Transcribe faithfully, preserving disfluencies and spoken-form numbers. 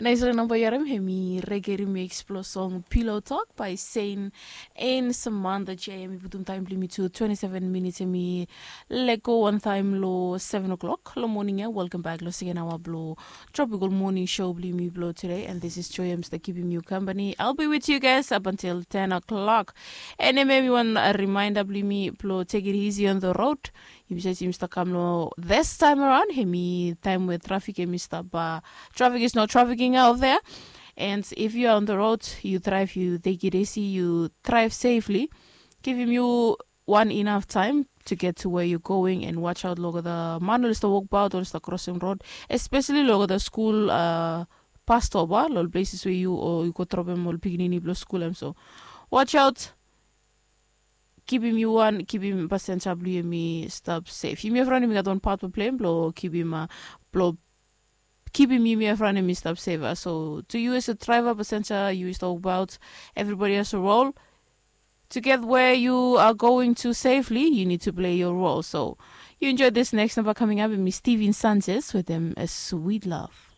Nais re namba yu harim, hemi Reggae Remix blo song Pillow Talk by Saint and Samantha J. Hemi putum taem blo yumi tu twenty-seven minits, hemi lego wantaem lo seven o'clock lo moning ya. Welcome back lo second hour blo Tropical Morning Show blo yumi blo today, and this is Joy. I'm still keeping you company. I'll be with you guys up until ten o'clock. And hemi wan reminder blo yumi blo take it easy on the road. Yumi save yumi stap kam lo this time around, hemi taem we trafik hemi stap, uh, trafik is not trafficking out there. And if you are on the road, you drive, you take it easy, you drive safely. Givim yu wan enough taem to get to where you going, and watch out lo olgeta man oli stap wokbaot, oli stap krosim rod, especially lo olgeta skul, uh, bus stop, a, lo ol places we yu o yu go dropem ol pikinini blo skul, em so watch out. Givim yu wan, givim pasenja blo yumi stap sef. Yumi evriwan yumi gat wan pat blo plei blo givim, uh, blo givim yumi evriwan yumi stap sef. So to you as a driver, pasenja, yu stap wokbaot, everybody has a role. To get where you are going to safely, you need to play your role. So you enjoy this next number coming up, and mi Steven Sanchez with them, A Sweet Love.